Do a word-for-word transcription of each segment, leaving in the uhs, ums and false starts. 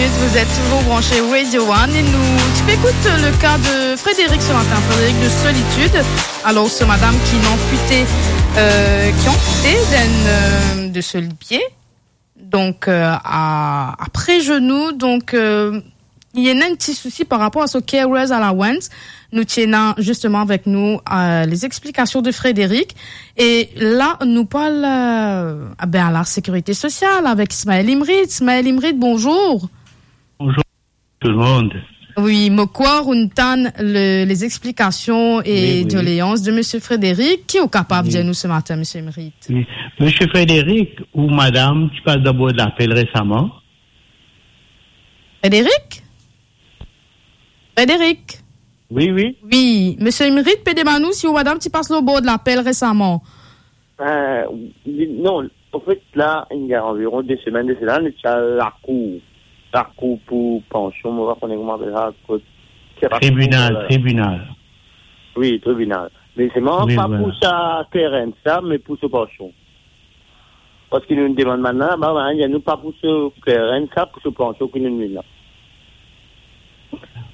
Vous êtes toujours branchés Radio One et nous, tu peux écouter le cas de Frédéric ce matin, Frédéric de Solitude. Alors, ce madame qui est amputée, euh, qui est amputée d'un, euh, de ce pied, donc, euh, à, après genou, donc, euh, il y a un petit souci par rapport à ce carer's allowance. Nou ti ena justement avek nou, euh, les explications de Frédéric. E la, nou parl, euh, ah ben, à la sécurité sociale avec Ismaël Imrit. Ismaël Imrit, bonjour. Bonjour tout le monde. Oui, mo krwar ou tann le, les explications et Oui, oui. doléances de monsieur Frédéric. Ki ou kapav Oui. dir nou ce matin, monsieur Imrit? Oui. Monsieur Frédéric, ou madame, ti pas dan bord lapel resaman? Frédéric? Frédéric? Oui, oui. Oui, monsieur Imrit pe demann ou si ou madame ti pas lor bord lapel resaman. Euh, non, en fait, là, il y a environ deux semaines de cela, nou ti al lakour, lakour pou pansion, mo pa kone kouma apel sa, kot, se pa Tribinal, kouma, tribinal. Oui, tribinal. Me selman, Oui, pa voilà. pou sa carer's sa, me pou so pansion. Parski nou demann bann la, ba, ba, nou pa pou so carer's sa, pou so pansion ki nou vinn la.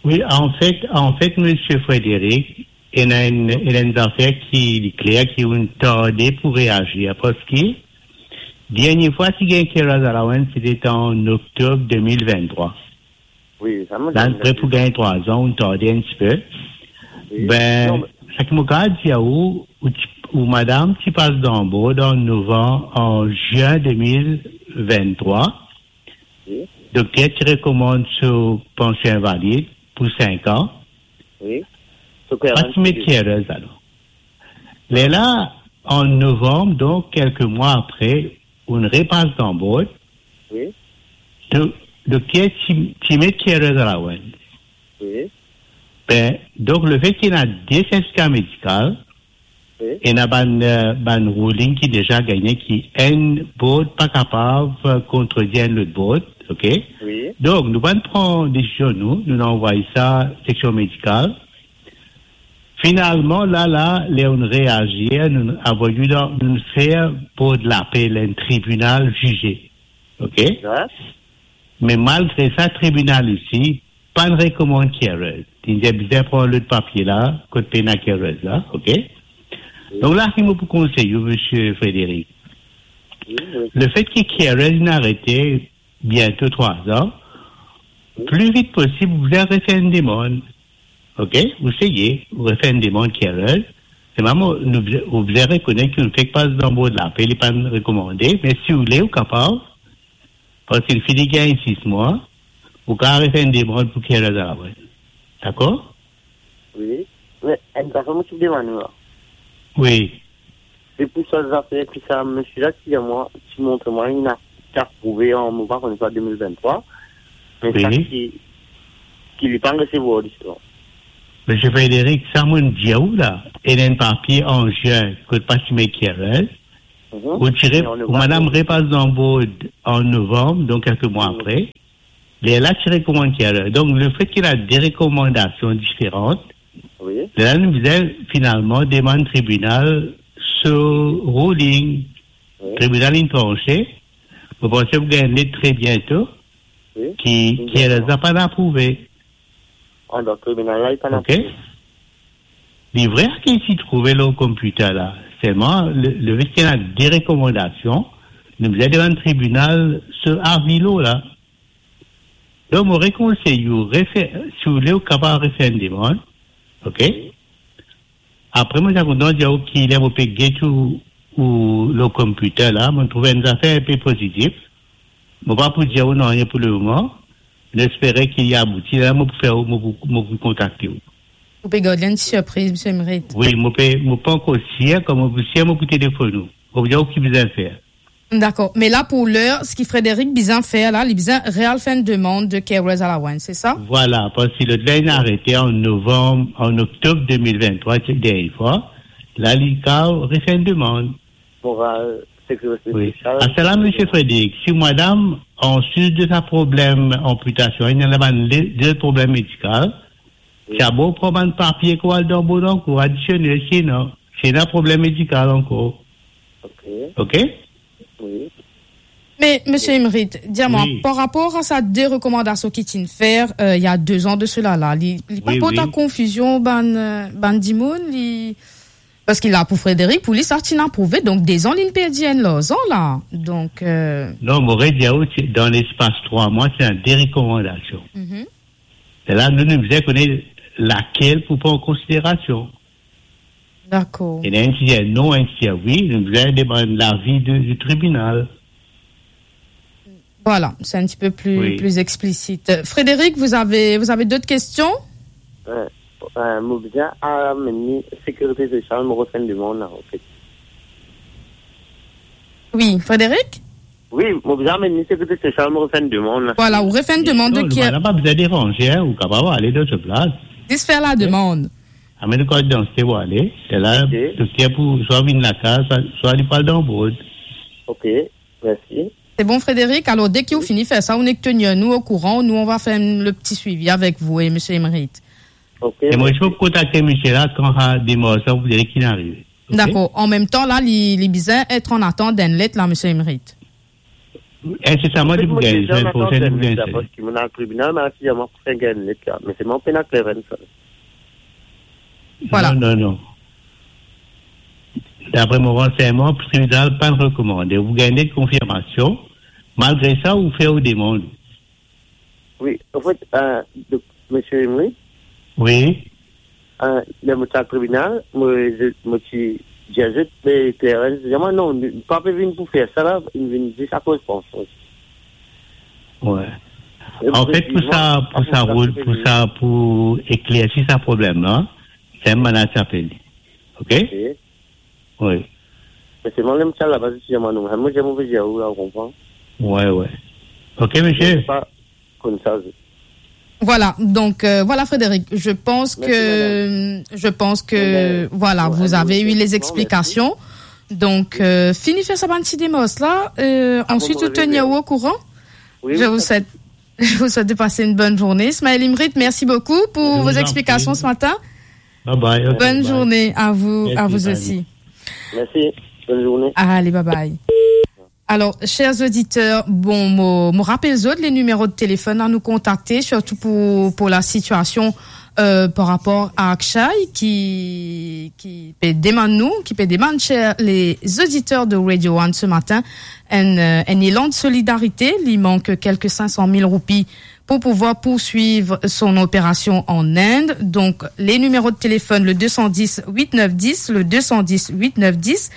Oui, en fait, en fait, monsieur Frédéric, ena enn, ena enn zafer ki li kler ki ou tarde pou reazir, parski dernie fwa ti gagn carer's allowance, c'était en octobre deux mille vingt-trois. Oui, sa mo La, konn. Pre pou gagn trwa an, ou tarde enn tipe. Oui. Ben, Non, me sa ki mo kapav dir ou, ou ti, ou madame ti pas dan bord an novam, an zin deux mille vingt-trois. Oui. Dokter ti rekomann so pansion invalid pou sink an. Oui. So Pa carer's ti met carer's, alor. Lerla, an novam, donk, kelke mwa apre, ou repas dan bord. Oui. Do-, dokter ti, ti met carer's allowance. Oui. Ben, donk, lefet ki ena de sertifika medikal, Oui. ena bann, euh, bann ruling ki deza gagne ki enn bord pa kapav, euh, kontredir enn lot bord, ok? Oui. Donk, nou pa'nn pran desizion nou, nou anvway sa seksion medikal. Finalman, la, la, ler nou reazir, nou anvway dan, nou fer bord lapel enn tribinal zize. Ok? Wi. Me malgre sa, tribinal isi pa'nn rekomann carer's. Li dir bizin pran lot papie la, kot pena carer's la, ok? Wi. Donk la, ki mo pou konsey ou, Misie Frédéric? Wi, wi. Lefet ki carer's inn arete biento trwa an, Wi. pli vit posib, ou bizin refer enn demann. Ok? Ou seye, ou refer enn demann carer's. Selman, nou, ou bizin rekonet ki ou fek pas dan bord lapel, li pa'nn rekomande, me si ou le, ou kapav, parski li fini gagn sis mwa, ou kapav refer enn demann pou carer's allowance. Dakor? Wi. Me enn zafer mo ti demann ou la. Wi. Se pou sa zafer ki sa misie la ti dir mwa, ti montre mwa, li inn aprouve an, mo pa kone sa, de mil venntrwa. Me sa Wi. ki, ki li pa'nn resevwar, zisteman. Misie Frédéric, sa mo'nn dir ou la, ena enn papie an zin, kot pa ti met carer's, Mhm. ou ti re-, Me an ou novam, madam wi. repas dan bord an novam, donk kelke mwa Mhm. apre. Lerla ti rekomann carer's. Donk, lefet ki ena de rekomandasion diferan, Wi. lerla nou bizin finalman demann tribinal so ruling. Wi. Tribinal inn transe. Mo panse ou gagn let tre biento Wi. ki, Wi, ki dakor. ena pa'nn aprouve. Ah, donk tribinal la, li pa'nn Ok? aprouve. Li vre ki ti trouve lor computer la. Selman, le, lefet ki ena de rekomandasion, nou bizin demann tribinal so avi la. Donk, mo rekonsey ou refer, si ou le, ou kapav refer enn demann. Ok? Apre, mo ti a kontan dir ou ki ler mo pe get ou, ou lor computer la, mo trouv enn zafer inpe pozitif. Mo pa pou dir ou nanye pou lemoman. Nou espere ki li abouti. La, mo pou fer, mo pou, mo pou kontakte ou. Ou pe gard li enn ti sirpriz, Misie Imrit. Wi, mo pe, mo pa ankor sir, kan mo pou sir, mo pou telefonn ou. Mo pou dir ou ki bizin fer. Dakor. Me la, pou ler, seki Frédéric bizin fer la, li bizin real fer enn demann de carer's allowance, se sa? Vwala, parski lot la inn arete an novam, an oktob de mil venntrwa, se dernie fwa. La, li kapav refer enn demann. Moral, sekirite Wi. sosial. Aster la, Misie Frédéric, si madam, anplis de sa problem anpitasion, ena bann le, de problem medikal, Wi. Sa bon pran bann papie ki ou al dan bord ankor, adisionel, sinon, si ena problem medikal ankor. Ok. Ok? Wi. Me, Monsieur Imrit, dir mwa, par rapor a sa de rekomandasion ki ti'n fer, euh, il y a deux ans de cela la, li, li pa port konfizion bann, euh, bann dimoun, li, parski la pou Frédéric, pou li sa ti'n aprouve, donk dezan li'nn perdi enn larzan la. Donk, euh, Non, mo redir ou, ti, dan lespas trwa mwa, ti ena de rekomandasion. Mhm. E la, nou, nou bizin kone lakel pou pran an konsiderasion. Dakor. Ena enn ki dir non, enn ki dir wi, nou bizin demann lavi de, di tribinal. Voilà, c'est un petit peu plus, plus explicite. Frédéric, vous avez, vous avez d'autres questions ? Euh, euh, mo bizin amenn li sekirite sosial, mo refer enn demann la, an fet. Oui, Frédéric ? Wi, mo bizin amenn li sekirite sosial, mo refer enn demann la. Voilà, ou refer enn demann de... Non, ki nou pa bizin deranze, hein, ou kapav ale dan so plas. Zis fer la demann. Amenn ou kart didantite pou ale. Se la, dokter pou swa vinn lakaz, swa, swa li pou al dan bord. Ok, mersi. C'est bon, Frédéric. Alors, dès que vous finissez faire ça, on est tenu, nous, au courant. Nous, on va faire le petit suivi avec vous et monsieur Imrit. Ok, mersi. E mo, si ou kontakte misie la, kan sa demars la, ou dir li ki'nn arive. Ok? Dakor. An mem tan la, li, li bizin et an atant d'enn let la, monsieur Imrit. An fet, mo deza an atant d'enn let la, paski mo al tribinal, me la, si zame mo pou fer gagn enn let la. Me selman pena kler enn sel. Voilà. Non, non, non. Dapre mo ransegnman, tribinal pa'nn rekomande. Ou gagn enn konfirmasion. Malgre sa, ou fer ou demann. Wi, an fet, euh, donk, misie Imrit. Wi. Euh, ler mo ti al tribinal, mo, mo ti dir zot, me Clarence, dir mwa, non, li pa pe vinn pou fer sa la, li vinn zis akoz pansion. Wi. An fet, pou sa, pou sa, pou sa, pou eklersi sa problem la, se enn mannadz apel li. Ok? Ok. Wi. Me selman, ler mo ti al laba, zot ti dir mwa non. Mo dir, mo pe dir ou la, ou konpran? Wi, wi. Ok, misie. Mo pa konn sa, zot. Voilà, donc, euh, voilà, Frédéric, je pense que, je pense que, voilà, vous avez eu les explications. Donc, euh, fini fer sa bann ti demars la, euh, ensuite, vous tenir au courant. Je vous souhaite, je vous souhaite de passer une bonne journée. Ismaël Imrit, merci beaucoup pour vos explications ce matin. Bye bye, ok, bye. Bonne journée à vous, à vous aussi. Merci, bonne journée. Allez, bye bye. Alors, chers auditeurs, bon, mo, mo rapel zot, les numéros de téléphone à nous contacter, surtout pour, pour la situation, euh, par rapport à Akshay, ki, ki pe demann nou, ki pe demann, chers les auditeurs de Radio One ce matin, un, euh, un élan de solidarité. Il manque quelques cinq cent mille roupies pour pouvoir poursuivre son opération en Inde. Donc, les numéros de téléphone, le deux cent dix huit neuf dix, le deux cent dix huit neuf dix,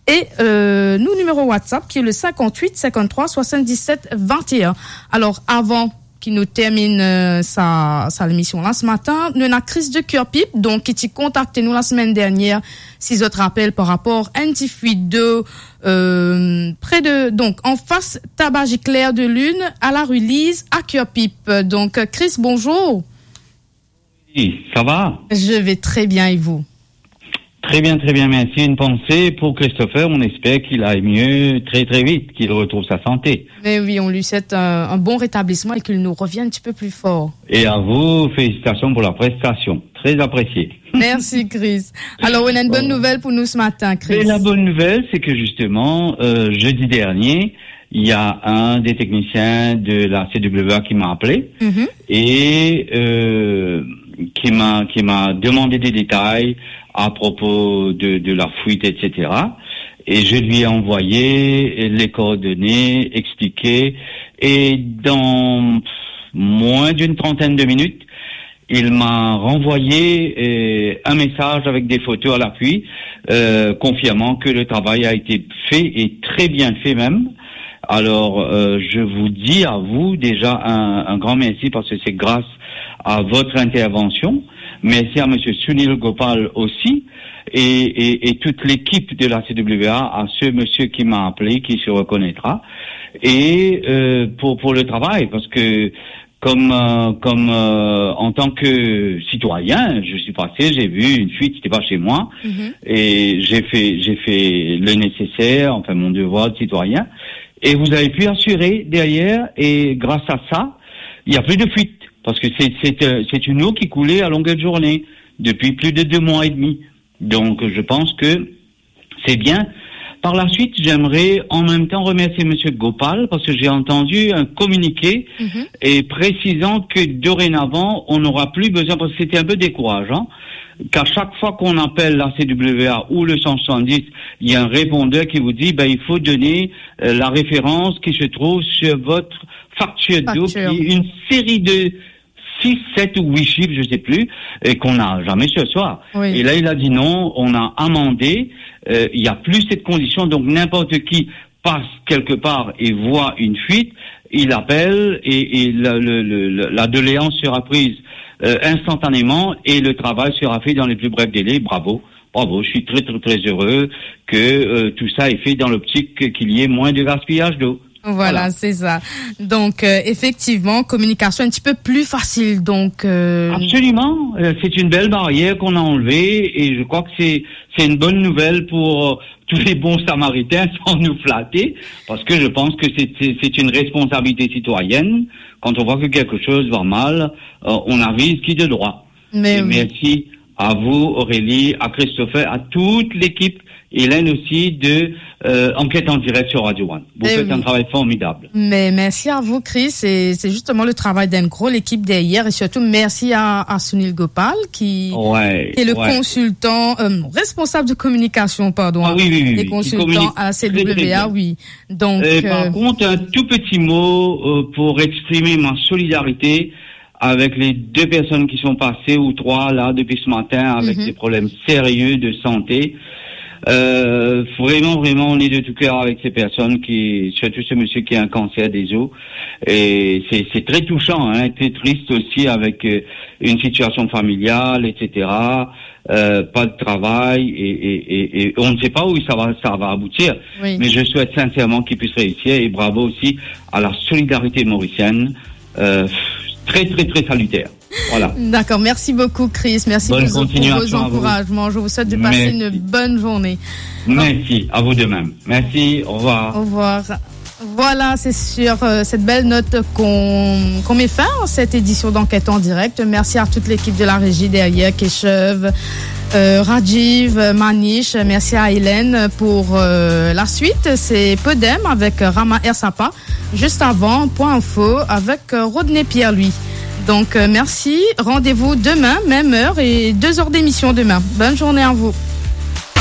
et, euh, nou nimero WhatsApp ki le cinquante-huit cinquante-trois soixante-dix-sept vingt et un. Alors, avan ki nou terminn, euh, sa, sa lemision la se matin, nou ena Chris de Kirpip, donk, ki ti kontakte nou la semenn dernier, si zot rapel, par rapor enn ti fuit dlo, euh, pre de, donk, anfas Tabac Clair de Lune, à la rue Lise, à Kirpip. Donk, Chris, bonjour. Oui, ça va ? Je vais très bien et vous ? Très bien, très bien, merci. Une pensée pour Christopher. On espère qu'il aille mieux très, très vite, qu'il retrouve sa santé. Mais oui, on lui souhaite un, un bon rétablissement et qu'il nous revienne un petit peu plus fort. Et à vous, félicitations pour la prestation. Très apprécié. Merci, Chris. Alors, on a une bonne nouvelle pour nous ce matin, Chris. Et la bonne nouvelle, c'est que justement, euh, jeudi dernier, il y a un des techniciens de la C W A qui m'a appelé et, euh, qui m'a, qui m'a demandé des détails à propos de, de la fuite, et cetera. Et je lui ai envoyé les coordonnées, expliqué. Et dans moins d'une trentaine de minutes, il m'a renvoyé, euh, un message avec des photos à l'appui, euh, confirmant que le travail a été fait et très bien fait même. Alors, euh, je vous dis à vous déjà un, un grand merci parce que c'est grâce à votre intervention. Merci à monsieur Sunil Gopal aussi et, et, et toute l'équipe de la C W A, à ce monsieur qui m'a appelé, qui se reconnaîtra. Et, euh, pour, pour le travail, parce que comme, euh, comme, euh, en tant que citoyen, je suis passé, j'ai vu une fuite, c'était pas chez moi, et j'ai fait, j'ai fait le nécessaire, enfin mon devoir de citoyen. Et vous avez pu assurer derrière, et grâce à ça, il y a plus de fuite, parce que c'est, c'est, euh, c'est une eau qui coulait à longueur de journée depuis plus de deux mois et demi. Donc, je pense que c'est bien. Par la suite, j'aimerais en même temps remercier Monsieur Gopal parce que j'ai entendu un communiqué Mhm. et précisant que dorénavant, on n'aura plus besoin, parce que c'était un peu décourageant, qu'à chaque fois qu'on appelle la C W A ou le cent soixante-dix, il y a un répondeur qui vous dit, ben, il faut donner euh, la référence qui se trouve sur votre facture d'eau, qui Facture. est une série de six, sept ou huit chiffres, je sais plus, et qu'on n'a jamais su asseoir. Oui. Et là, il a dit non, on a amendé, euh, il n'y a plus cette condition, donc n'importe qui passe quelque part et voit une fuite, il appelle et, et le- le- le- le- la doléance sera prise euh, instantanément et le travail sera fait dans les plus brefs délais. Bravo, bravo, je suis très très très heureux que euh, tout ça est fait dans l'optique qu'il y ait moins de gaspillage d'eau. Voilà, Voilà. c'est ça. Donc, euh, effectivement, communication un petit peu plus facile. Donc, euh, Absolument. Euh, c'est une belle barrière qu'on a enlevée et je crois que c'est c'est une bonne nouvelle pour euh, tous les bons Samaritains, sans nous flatter, parce que je pense que c'est c'est- c'est une responsabilité citoyenne. Quand on voit que quelque chose va mal, euh, on avise qui de droit. Mais Et oui. merci à vous, Aurélie, à Christopher, à toute l'équipe, Hélène aussi, de euh, Enquête en direct sur Radio One. Vous Eh faites oui. un travail formidable. Mais merci à vous, Chris. Et c'est justement le travail d'une grosse équipe derrière. Et surtout, merci à, à Sunil Gopal, qui, Ouais, qui est le ouais. consultant, euh, responsable de communication, pardon, Ah oui, oui, oui, et oui, qui consultant communique à la très, très C W A, bien. oui. Donc, Et par euh, contre, un tout petit mot euh, pour exprimer ma solidarité avec les deux personnes qui sont passées, ou trois là, depuis ce matin, avec Mhm. des problèmes sérieux de santé. Euh, vraiment, vraiment, on est de tout cœur avec ces personnes, qui, surtout ce monsieur qui a un cancer des os. Et c'est c'est très touchant, hein, très triste aussi avec euh, une situation familiale, et cetera. Euh, pas de travail et, et- et- et on ne sait pas où ça va, ça va aboutir. Oui. Mais je souhaite sincèrement qu'il puisse réussir et bravo aussi à la solidarité mauricienne. Euh, très, très, très salutaire. Voilà. D'accord, merci beaucoup, Chris. Merci Bonne pour, pour continuation vos à vous. encouragements. Je vous souhaite de passer Merci. une bonne journée. Merci, à vous de même. Merci, au revoir. Au revoir. Voilà, c'est sur euh, cette belle note qu'on qu'on met fin à cette édition d'Enquête en direct. Merci à toute l'équipe de la régie derrière, Keshev, euh, Rajiv, euh, Manish. Merci à Hélène pour euh, la suite. C'est Podem avec Rama Ersapa. Juste avant, Point Info avec euh, Rodney Pierre-Louis. Donc, euh, merci. Rendez-vous demain, même heure et deux heures d'émission demain. Bonne journée à vous.